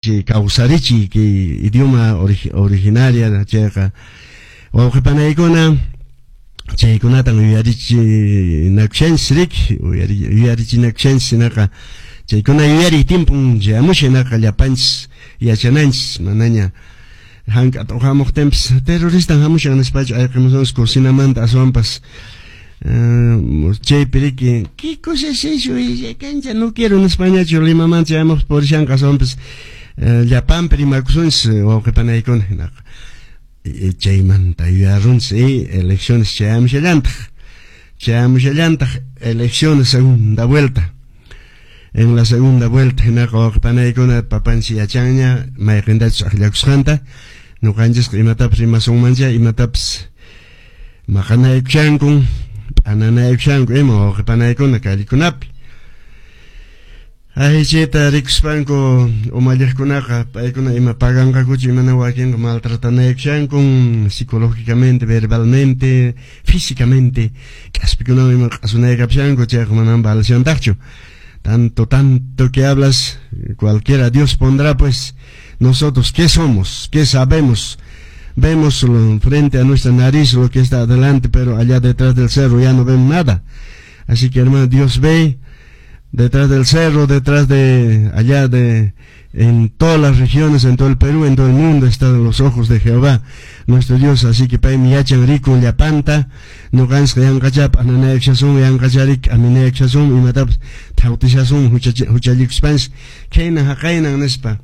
Kawsarichiy kay idioma originaria chayqa wawqipanaykuna chaykunatan yuyarichinakushanchis riki yuyarichinakushanchis hinaqa chaykuna yuyariy tiempon chayamushan hinaqa llapanchis yachananchis manaña hank'ata uqamuqtinpis terroristan hamushan nispachu ayqimusunchis cocinamanta aswanpas chaypi riki ¿qué cosa es eso? Cancha no quiero nispañachu Limamanta chayamuqpas purishanqa aswanpas llapanpi rimakusunchis wawqipanaykuna hinaqa chaymanta yuyarunchis elecciones chayamushallantaq chayamushallantaq elecciones segunda vuelta. En la segunda vuelta hinaqa wawqipanaykuna papanchis yachanña mayqintachus akllakusqanta ñuqanchisqa imatapas rimasunmancha imatapas maqanaykushankun p'ananaykushanku ima wawqipanaykuna callekunapi. Ay chayta rikuspanku umalliqkunaqa paykuna ima paganqakuchu imana wakinqa maltratanaykushankun psicológicamente, verbalmente, físicamente k'aspikunawan ima q'asunaykapushanku chayqa manan valeshantaqchu. Tanto, tanto que hablas, cualquiera Dios pondrá, pues nosotros, ¿qué somos? ¿Qué sabemos? Vemos frente a nuestra nariz lo que está adelante, pero allá detrás del cerro ya no vemos nada. Así que, hermano, Dios ve detrás del cerro, detrás de allá de en todas las regiones, en todo el Perú, en todo el mundo están los ojos de Jehová, nuestro Dios. Así que paymi yachan rikun llapanta, ñuqanchis yanqachap ananaykushasun, yanqacharik aminaykushasun, imatapas thawtishasun huchallikuspanchis khaynan haqaynan nispa.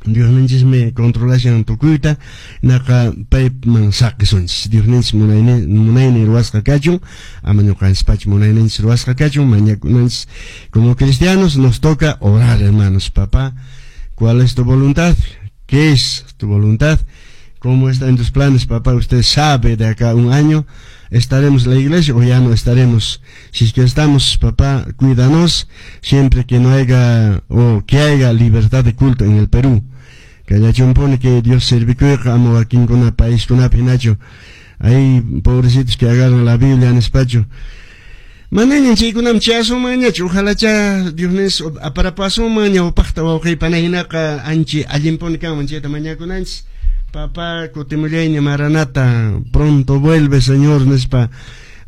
Diosninchismi controlashan tukuyta, naqa payman saqisunchis. Diosninchis munaynin ruwasqa kachun, ama ñuqanchis munayninchis ruwasqa kachun, mañakunanchis. Como cristianos nos toca orar, hermanos. Papá, ¿cuál es tu voluntad? ¿Qué es tu voluntad? ¿Cómo está en tus planes, papá? Usted sabe, de acá a un año estaremos en la iglesia o ya no estaremos. Si es que estamos, papá, cuídanos siempre que no haya o que haya libertad de culto en el Perú. Que haya pone que Dios sirvikuyqa ama wakinkuna paiskunapi hinachu. Hay pobrecitos que agarran la Biblia en despacho. Manaña chaykunam chayasunmanñachu, ojalá cha Dios aparapasunman ñawpaqta wawqiypana hinaqa anchi allinpuni kanman chayta mañakunanchis. Papá, kutimullayña, Maranata, pronto vuelve, Señor, nispa.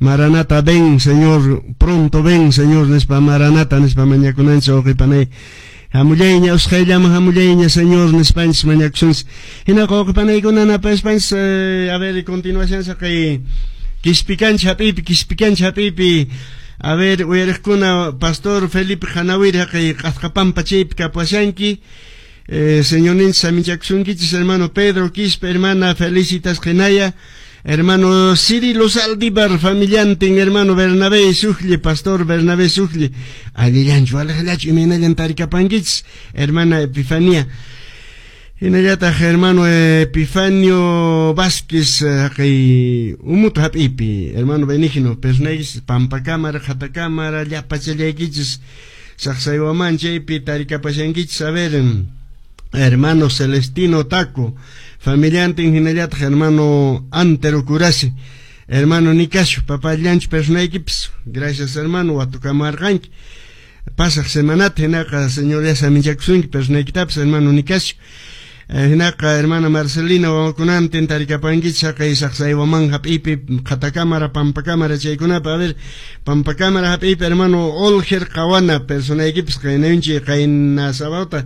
Maranata, ven, Señor, pronto ven, Señor, nispa, Maranata, nispa mañakunanchis wawqipanay. Hamullayña, usqhayllaman hamullayña, Señor, nispanchis mañakusunchis. Hinaqa wawqipanaykuna napaspanchis, a ver, continuación saqay Quispicancha hap'iypi, Quispicancha hap'iypi. A ver, uyariqkuna, Pastor Felipe Hanawir haqay Q'asqapampa chaypi kapuashanki. Señorninchis saminchakusunkichis, hermano Pedro Quispe, hermana Felicitas Genaya, hermano Cirilo Saldívar, familiantin, hermano Bernabé Sujli, pastor Bernabé Sujli, allillanchu, alaqllachu, imaynallan tarikapankichis, hermana Epifanía. Hinallataq hermano Epifanio Vázquez haqay umutu hap'ipi, hermano Benigno, personaykichis Pampa Cámara, Qhata Cámara, llapachallaykichis, Saqsaywaman chaypi tarikapashankichis, a ver, hermano Celestino Taco, familiantin hinallataq hermano Antero Curasi, hermano Nicasio, papá llanchu personaykipis, gracias, hermano, watukamarqanki. Pasaq semanata hinaqa Señor ya saminchakusunki personaykitapas, hermano Nicasio. Hinaqa hermana Marcelina wawakunantin tarikapankichis haqay Saqsaywaman hap'ipi, Qhata Cámara, Pampa Cámara chaykunapa. A ver, Pampa Cámara hap'ipi hermano Olger Qawana personaykipis qaynayunchik qayna sabauta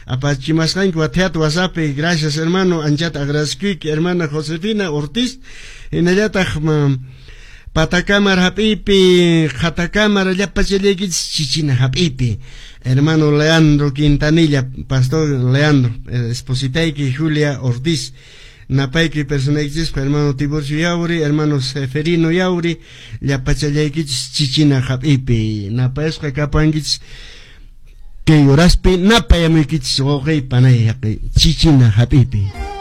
apachimasqanki wathiata WhatsAppi. Gracias, hermano, anchata agradecekuyki. Hermana Josefina Ortiz, hinallataq Patakámara hap'ipi, Qhata Cámara llapachallaykichis Chichina hap'ipi hermano Leandro Quintanilla, pastor Leandro, espositayki Julia Ortiz, napayki personaykichispa hermano Tiburcio Yauri, hermano Seferino Yauri, llapachallaykichis Chichina hap'ipi napayasqa kapankichis kay horaspi napayamuykichis wawqi panay haqay Chichina hap'ipi.